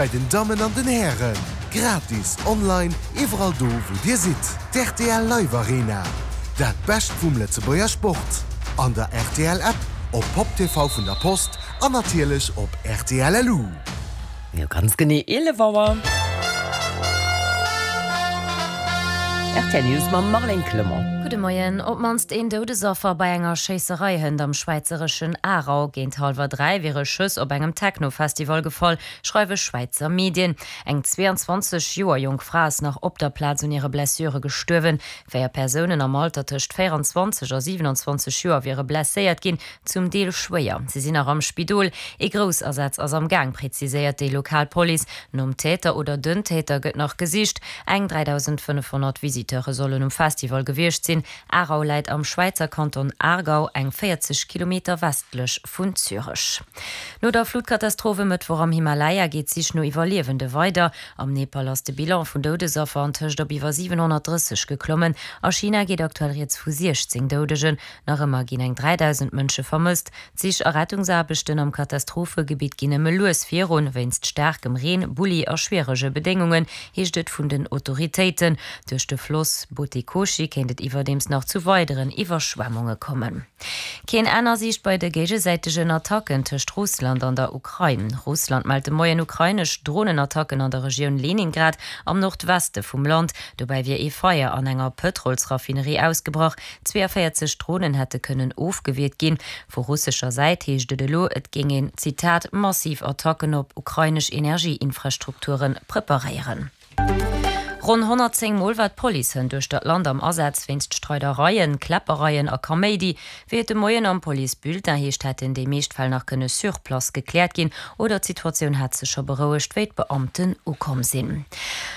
Bei den Dammen an den Hären, gratis online iwwerall do wou dir sidd. D'RTL Live Arena, dat Bescht vum Lëtzebuerger Sport. An der rtl App, op Pop TV vun der Post an natierlech op rtl LU. Jo, ganz genee 11 Auer. Rtl News mam Marlène Clement. Gudde Moien. Op d'mannst een Doudesaffer bei enger Schéisserei hënt am schwäizereschen Aarau. Géint hallwer 3 wiere Schëss op engem Techno-Festival gefall. Schreiwe Schwäizer Medien. Eng 22 Joer jonk Fra ass nach op der Plaz un hire Blessure gestuerwen. 4 Persounen am Alter tëscht 24 a 27 Joer wiere blesséiert ginn, zum Deel schwéier. Si sinn nach am Spidol. Ee Groussasaz ass am Gaang, preziséiert déi lokal Police. Nom Täter oder den Täter gëtt nach gesicht. Eng 3.500 Visiteure sollen um Festival gewiescht sinn. Aarau läit am Schwäizer Kanton Aargau, eng 40 Kilometer westlech vun Zürech. No der Flutkatastroph e Mëttwoch am Himalaya geet d'Sich no Iwwerliewende weider. Am Nepal ass de Bilan vun Doudesaffer antëscht op iwwer 730 geklommen. A China geet aktuell rieds vu 16 Doudegen. Nach ëmmer ginn eng 3.000 Mënsche vermësst. D'Sich a Rettungsaarbechten am Katastrophegebitt ginn nëmme lues virun, wéinst staarkem Reen, Bulli a schwierege Bedéngungen, heescht et vun den Autoritéiten. Duerch de Floss Bhote Koshi kéint et iwwerdeems nach zu weideren Iwwerschwemmunge kommen. Keen Enn a Siicht bei de géigesäitegen Attacken tëscht Russland an der Ukrain. Russland mellt de Moien ukrainesch Dronenattacken an der Regioun Leningrad am Nordweste vum Land. Dobäi wier ee Feier an enger Pëtrolsraffinerie ausgebrach. 42 Dronen hätte kënnen ofgewiert ginn. Vu russescher Säit heescht et elo, et géing een, Zitat, massiv Attacken op ukrainesch Energieinfrastrukture preparéieren. Ronn 110 Mol war d'Police hënt uechter d'Land am Asaz wéinst Streidereien, Kläppereien a Kaméidi. Wéi et de Moien am Police-Bulletin heescht, hätten déi meescht Fäll nach kënne sur place gekläert ginn oder d'Situatioun hat sech scho berouegt, wéi d'Beamten ukomm sinn.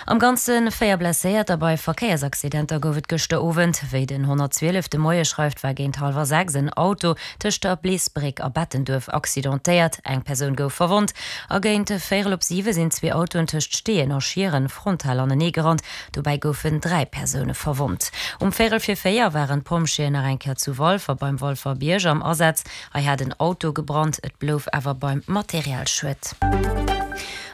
Am Ganze 4 Blesséierter bei Verkéiersaccidenter gouf et gëschter Owend. Wéi den 112 de Moie schreift, war géint hallwer 6 en Auto tëscht der Bleesbréck a Bettenduerf accidentéiert. Eng Persoun gouf verwonnt. A géint véierel op siwe sinn zwee Autoen tëscht Steeën a Schieren frontal anenee gerannt. Dobäi goufen 3 Persoune verwonnt. Um véierel vir 4 waren d'Pompjeeën nach eng Kéier zu Walfer beim Walfer Bierg am Asaz. Hei hat en Auto gebrannt, et blouf awer beim Materialschued.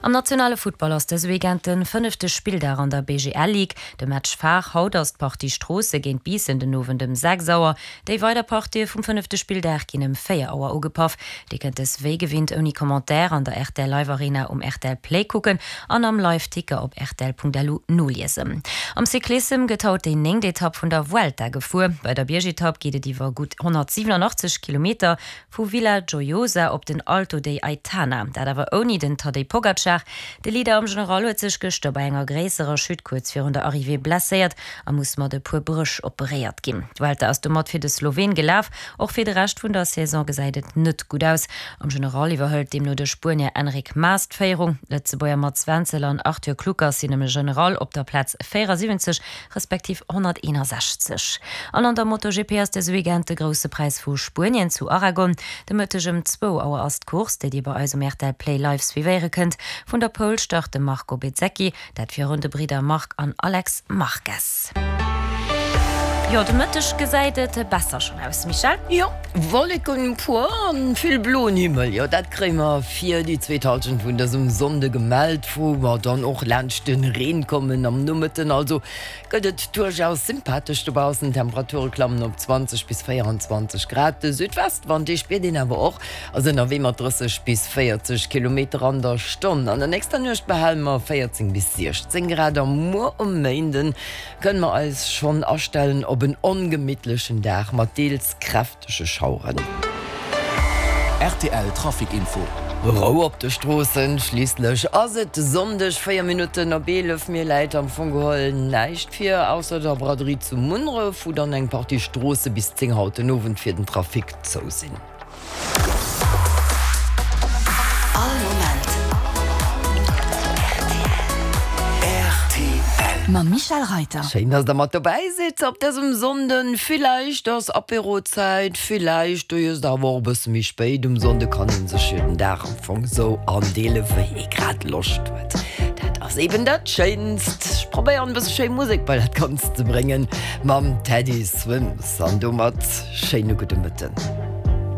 Am nationale Futtball ass dëse Weekend de fënnefte Spilldag an der BGL Ligue. De Match phare haut ass d'Partie Stroosse géint Biissen den Owend ëm 6 Auer. Déi weider Partië vum fënnefte Spilldag ginn ëm 4 Auer ugepaff. Dir kënnt dës wéi gewinnt ouni Commentaire an der rtl Live Arena um rtl Play kucken an am Live Ticker op rtl.lu noliesen. Am Cyclissem gëtt haut déi néngt Etapp vun der Vuelta gefuer. Bei der Biergetapp geet et iwwer gutt 187 Kilometer Vu Villajoyosa op den Alto de Aitana, dat awer ouni den Tadej Pogacar. De Leader am General huet sech gëschter bei enger gréisserer Chute kuerz virun der Arrivée blesséiert a muss mat e puer Bréch operéiert ginn. D'Vuelta ass domat fir de Sloween gelaf. Och fir de Rescht vun der Saison gesäit et net gutt aus. Am General iwwerhëlt deemno de Spuenier Enric Mas d'Féierung. D'Lëtzebuerger Mats Wenzel an Arthur Kluckers sinn am General op der Plaz 74 respektiv 161. An an der MotoGP ass dëse Weekend de Grousse Präis vu Spuenien zu Aragon. De Mëtteg ëm zwou Auer ass d'Course, déi dir bei eis um rtl Play live suivéiere kënnt. Vun der Pole start de Marco Bezzecchi, dat virun de Bridder Marc an Alex Marquez. Jo, de Mëtteg gesäit et besser schonn aus, Michèle? Jo, Wolleken, puer an vill bloen Himmel, jo dat kréie mer fir déi zweet Halschent vun dësem Sonnde gemellt. Wou mer dann och laanscht de Reen kommen am Nomëtten. Also gëtt et duerchaus sympathesch dobaussen. D'Temperature klammen op 20 bis 24 Grad. De Südwestwand, dee spiert een awer och, ass ënnerwee mat 30 bis 40 Kilometer an der Stonn. An der nächster Nuecht behale mer 14 bis 16 Grad a muer um Méinden kënne mer eis schonn astellen op en ongemittlechen Dag mat deels kräftege. Tësche Schaueren. Rtl Trafic Info. Rou op de Stroossen, schliisslech ass et Sonndeg 4 Minutten op 11. Mir läit am Fong geholl näischt vir, ausser der Braderie zu Munneref, wou dann eng Partie Stroosse bis 10 haut den Owend fir den Trafic zou sinn. All Moment rtl. Mam Michel Reiter. Schéin, dass der mat dobäi sidd op dësem Sonnden. Villäicht ass Apérozäit, villäicht do iesst der awer och e bësse méi spéit. Um Sonnde kann ee sech jo den Dag am Fong sou andeele wéi ee grad Loscht huet. Dat ass eben dat Schéinst. Ech probéieren e bësse schéi Musek bei dat Ganzt ze bréngen mam Teddy Swims an domat schéine gudde Mëtten.